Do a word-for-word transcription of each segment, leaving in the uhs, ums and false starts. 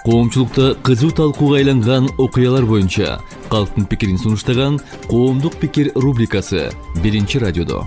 Коомчулукта кызуу талкууга айланган окуялар боюнча калктын пикирин сунуштаган Коомдук пикир рубрикасы биринчи радиодо.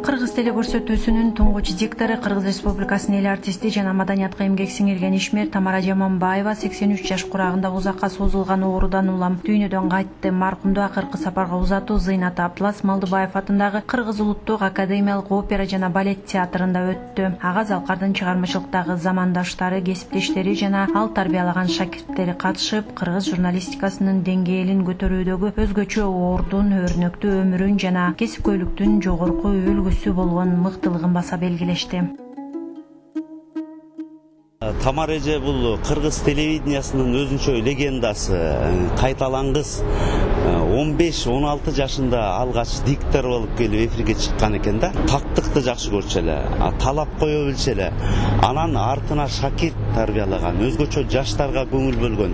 Кыргыз телекөрсөтүүсүнүн туңгуч диктору, Кыргыз Республикасынын эл артисти жана маданиятка эмгек сиңирген ишмер Тамара Жаманбаева сексен үч жаш курагында узакка созулган оорудан улам дүйнөдөн кайтты. Маркумду акыркы сапарга узатуу Зыйнат Аплас Малдыбаев атындагы Кыргыз улуттук академиялык опера жана балет театрында өттү. Ага Залкардын чыгармачылыктагы замандаштары, кесиптештери жана ал тарбиялаган шакирттери катышып, кыргыз журналистикасынын деңгээлин көтөрүүдөгү өзгөчө ордун, өрнөктүү өмүрүн жана кесипкөйлүктүн жогорку үлгүсү болгон мыктылыгын баса белгилешти. Тамара эже бул кыргыз телевидениясынын өзүнчө легендасы, кайталангыс. он беш он алты жашында алгач диктор болуп келип эфирге чыккан экен да. Тактыкты жакшы көрчү эле, талап кое билчү эле. Анан артына шакирт тарбиялаган, өзгөчө жаштарга көңүл бөлгөн.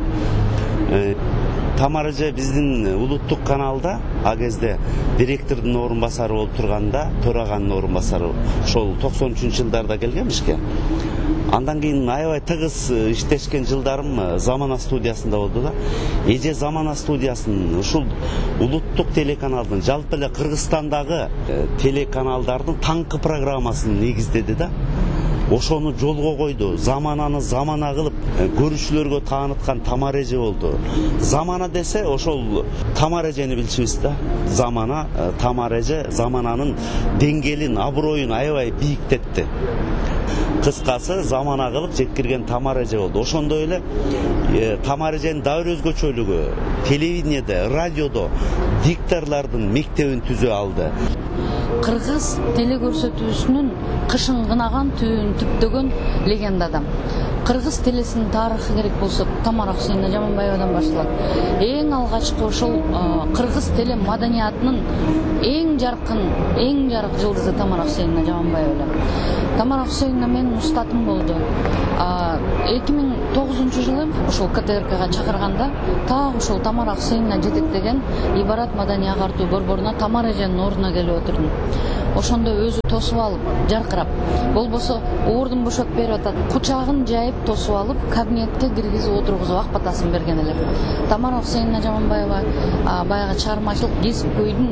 Тамара эже биздин улуттук каналда а кезде директордун орун басары болуп турганда, төраганын орун басары, ошол токсон үчүнчү жылдарда келген ишке. Андан кийин аябай тыгыз иштешкен жылдарым Замана студиясында болду да. Эже Замана студиясынын ушул улуттук телеканалдын, жалпы эле Кыргызстандагы телеканалдардын таңкы программасын негиздеди да. Ошону жолго койду. Замананы замана кылып көрүүчүлөргө тааныткан Тамара эже болду. Замана десе ошол Тамара эжени билчүбүз да. Замана, Тамара эже замананын деңгээлин, аброюн аябай бийиктетти. Кыскасы замана кылып жеткирген Тамара эже болду. Ошондой эле Тамара эженин дагы бир өзгөчөлүгү телевидениеде, радиодо дикторлордун мектебин түзө алды. Кыргыз телекөрсөтүүсүнүн кышын кынаган, түбүн түптөгөн легенда адам. Кыргыз телесинин тарыхы керек болсо Тамара Хусейна Жаманбаевадан башталат. Эң алгачкы ошол кыргыз теле маданиятынын эң жаркын, эң жарык жылдызы Тамара Хусейна Жаманбаева. Тамара Хусейна менин устатым болду. эки миң тогузунчу жылы ошол ка тэ эр кга чакырганда так ошол Тамара Хусейна жетектеген Ибарат маданий агартуу борборуна Тамара эженин ордуна келип отурдум. Ошондо өзү тосуп алып, жаркырап, болбосо ордун бошотуп берип атат. Кучагын жайып тосуп алып, кабинетке киргизип отургузуп ак батасын берген эле. Тамара Хусейна Жаманбаева баягы чыгармачылык кесипкөйдүн,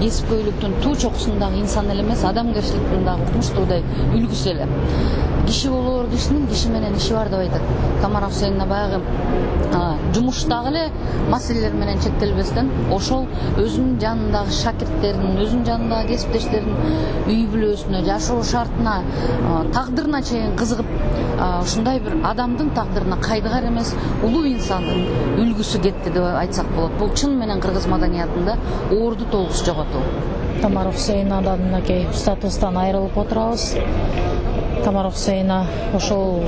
кесипкөйлүктүн туу чокусундагы инсан эле эмес, адамгерчиликтин дагы укмуштуудай үлгүсү эле. Киши болоор кишинин киши менен иши бар деп айтат. Тамара Хусейна баягы жумуштагы эле маселелер менен чектелбестен, ошол өзүнүн жанындагы шакирттерин, өзүнүн жанындагы кесиптештерин үй бүлөсүнө, жашоо шартына, тагдырына чейин кызыгып, ушундай бир адамдын тагдырына кайдыгар эмес, улуу инсандын үлгүсү кетти деп айтсак болот. Бул чын менен кыргыз маданиятында орду толгус жоготуу. Тамара Хусейнадан мынакей устатыбыздан айрылып отурабыз. Тамара Хусейна ошол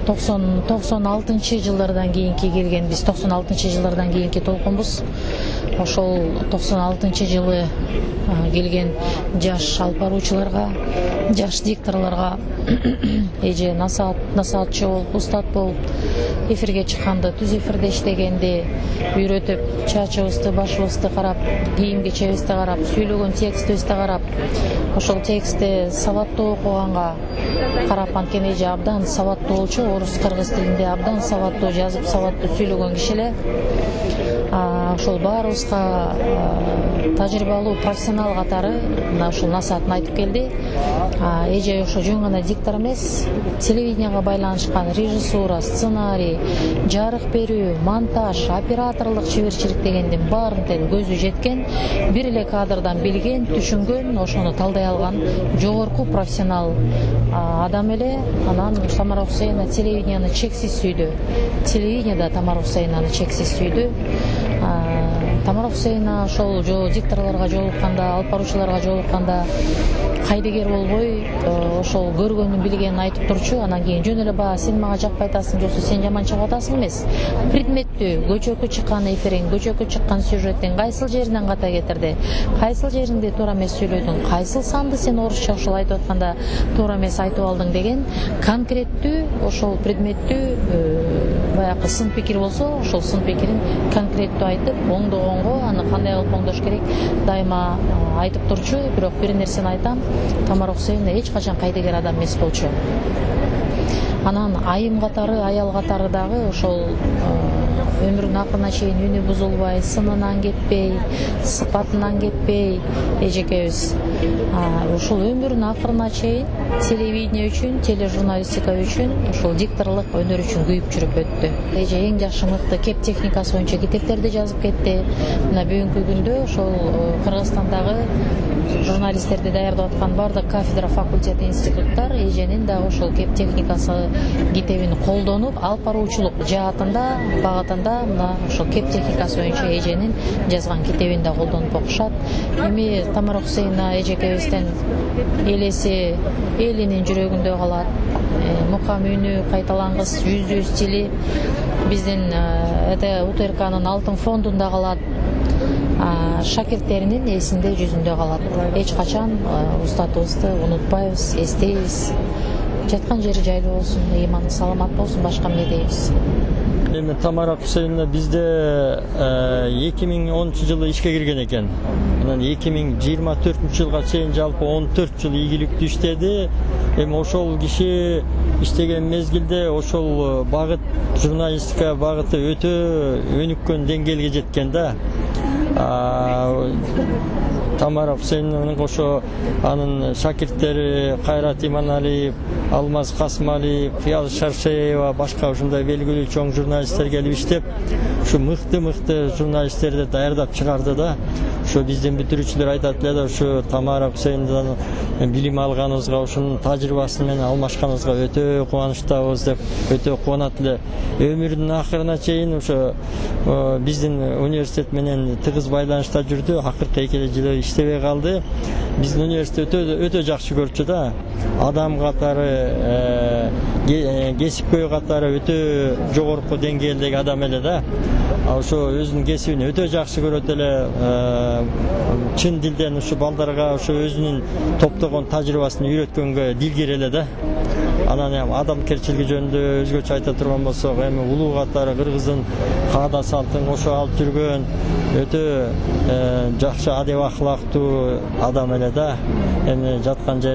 токсон алтынчы жылдардан кийинки келген, биз токсон алтынчы жылдардан кийинки толкунбуз. Ошол токсон алтынчы жылы келген жаш алып баруучуларга, жаш дикторлорго эже насаат насаатчы болуп, устат болуп, эфирге чыкканда, түз эфирде иштегенде үйрөтүп, чачыбызды, башыбызды карап, кийим кечебизди карап, сүйлөгөн текстибизди карап, ошол текстти сабаттуу окуганга карап, анткени эже абдан сабаттуу болчу, орус кыргыз тилинде абдан сабаттуу жазып, сабаттуу сүйлөгөн киши эле. Ошол баарыбызга тажрыйбалуу профессионал катары мына ушул насаатын айтып келди. Эже ошо жөн гана диктор эмес, телевиденияга байланышкан режиссура, сценарий, жарык берүү, монтаж, операторлук чеберчилик дегендин баарын тең көзү жеткен, бир эле кадрдан билген, түшүнгөн, ошону талдай алган жогорку профессионал адам эле. Анан Тамара Хусейна телевиденияны чексиз сүйдү. Телевиденияда Тамара Хусейнаны чексиз сүйдү. Тамара Хусейна ошол дикторлорго жолукканда, алып баруучуларга жолукканда кайдыгер болбой, ошол көргөнүн билгенин айтып турчу. Анан кийин жөн эле баа сен мага жакпай атасың, жоксо сен жаман чыгып атасың эмес. Предметтүү, көчөккө чыккан эфириң, көчөккө чыккан сюжетиң кайсыл жеринен ката кетирди, кайсыл жеринде туура эмес сүйлөдүң, кайсыл санды сен орусча ошол айтып атканда туура эмес айтып алдың деген конкреттүү, ошол предметтүү баягы сын пикир болсо, ошол сын пикирин конкреттүү айтып, оңдогонго аны кандай кылып оңдош керек дайыма айтып турчу. Бирок бир нерсени айтам, Тамара Хусейновна эч качан кайдыгер адам эмес болчу. Анан айым катары, аял катары дагы ошол өмүрүнүн акырына чейин үнү бузулбай, сынынан кетпей, сыпатынан кетпей эжекебиз ушул өмүрүнүн акырына чейин телевидение үчүн, тележурналистика үчүн, ушул дикторлук өнөр үчүн күйүп жүрүп өттү. Эже эң жакшы мыкты кеп техникасы боюнча китептерди жазып кетти. Мына бүгүнкү күндө ошол Кыргызстандагы журналисттерди даярдап аткан бардык кафедра, факультет, институттар эженин дагы ошол кеп техникасы китебин колдонуп, алып баруучулук жаатында, багытында мына ошол кеп техникасы боюнча эженин жазган китебин да колдонуп окушат. Эми Тамара Хусейновна эжекебизден элеси элинин жүрөгүндө калат. Мукам үнү, кайталангыс жүздүү стили биздин УТРКнын алтын фондунда калат. Шакирттеринин эсинде, жүзүндө калат. Эч качан устатыбызды унутпайбыз, эстейбиз. Жаткан жери жайлуу болсун, ыйманы саламат болсун, башка эмне дейбиз. Эми Тамара Хусейновна бизде эки миң онунчу жылы ишке кирген экен. Анан эки миң жыйырма төртүнчү жылга чейин жалпы он төрт жыл ийгиликтүү иштеди. Эми ошол киши иштеген мезгилде ошол багыт, журналистика багыты өтө өнүккөн деңгээлге жеткен да. Тамара Хусейновнун ошо анын шакирттери Кайрат Иманалиев, Алмаз Касымалиев, Фияз Шаршеева, башка ушундай белгилүү чоң журналисттер келип иштеп, ушу мыкты-мыкты журналисттерди даярдап чыгарды да. Ушу биздин бүтүрүүчүлөр айтат эле да, ушу Тамара Хусейновнадан билим алганыбызга, ушунун тажрыйбасы менен алмашканыбызга өтө кубанычтабыз деп өтө кубанат эле. Өмүрүнүн акырына чейин ошо биздин университет менен тыгыз байланышта жүрдү. Акыркы эки жыл иштебей калды. Биздин университет өтө өтө жакшы көрчү да. Адам катары, кесипкөй катары өтө жогорку деңгээлдеги адам эле да. Ошо өзүнүн кесибин өтө жакшы көрөт эле. Чын дилден ушу балдарга ошо өзүнүн топтогон тажрыйбасын үйрөткөнгө дилгер эле да. Анан эми адамкерчилиги жөнүндө өзгөчө айта турган болсок, эми улуу катары Кыргыздын каада салтын ошо алып жүргөн өтө жакшы адеп ахлактуу адам эле да. Эми жаткан